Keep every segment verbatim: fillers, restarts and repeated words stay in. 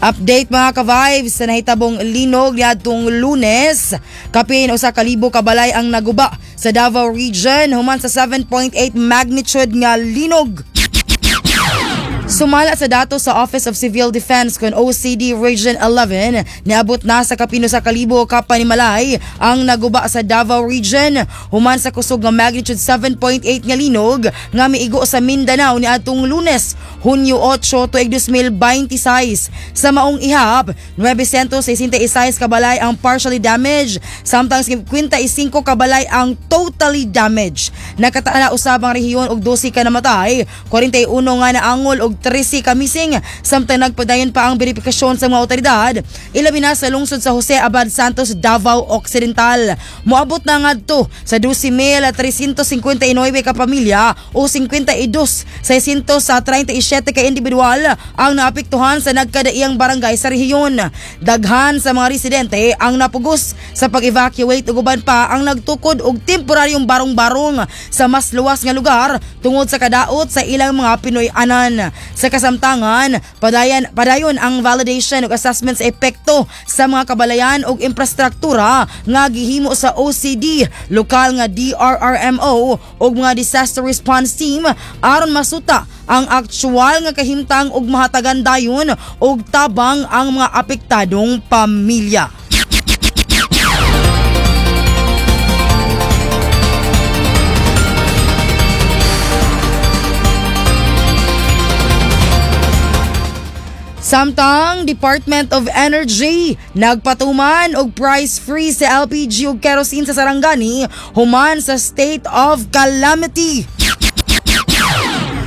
Update mga ka-vibes sa nahitabong linog niadtong Lunes. Kapin usa ka libo ka balay ang naguba sa Davao Region human sa seven point eight magnitude nga linog. Sumala sa datos sa Office of Civil Defense kon O C D Region eleven, niabot na sa kapin usa ka libo ka panimalay ang naguba sa Davao Region human sa kusog nga magnitude seven point eight nga linog nga miigo sa Mindanao niadtong Lunes, Hunyo eight, tuig dos mil twenty-six. Sa maong ihap, nine hundred sixty-six ka balay ang partially damaged, samtang fifty-five ka balay ang totally damaged. Nakatala usab ang rehiyon og dose ka namatay, forty-one nga naangol og thirteen ka missing, samtang nagpadayon pa ang verifikasyon sa mga otoridad, ilabi na sa lungsod sa Jose Abad Santos, Davao Occidental. Moabot na ngadto sa twelve thousand three hundred fifty-nine ka pamilya o fifty-two thousand six hundred thirty-seven ka individual ang naapektuhan sa nagkadaiyang barangay sa rehiyon. Daghan sa mga residente ang napugos sa pag-evacuate ug uban pa ang nagtukod og temporaryong barong-barong sa mas luwas nga lugar tungod sa kadaot sa ilang mga Pinoy-anan. Sa kasamtangan, padayon, padayon ang validation ug assessment sa epekto sa mga kabalayan ug infrastruktura nga gihimo sa O C D, lokal nga D R R M O ug mga disaster response team aron masuta ang aktual nga kahimtang ug mahatagan dayon og tabang ang mga apektadong pamilya. Samtang Department of Energy nagpatuman og price freeze sa L P G ug kerosene sa Sarangani human sa state of calamity.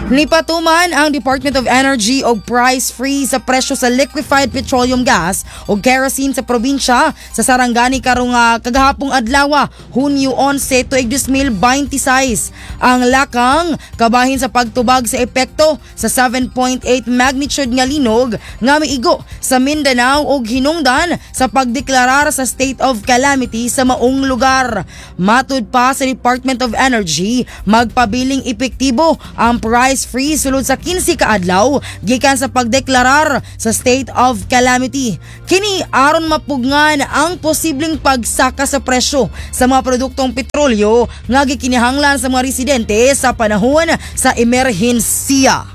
Nipatuman ang Department of Energy og price freeze sa presyo sa liquefied petroleum gas o kerosene sa probinsya sa Sarangani karong ah, kagahapong adlaw, Hunyo eleven, tuig dos mil twenty-six. Ang lakang kabahin sa pagtubag sa epekto sa seven point eight magnitude nga linog nga miigo sa Mindanao ug hinungdan sa pagdeklarar sa state of calamity sa maong lugar. Matud pa sa Department of Energy, magpabiling epektibo ang price freeze sulod sa kinse ka adlaw gikan sa pagdeklarar sa state of calamity. Kini aron mapugngan ang posibleng pagsaka sa presyo sa mga produktong petrolyo nga gikinahanglan sa mga residente sa panahon sa emerhensiya.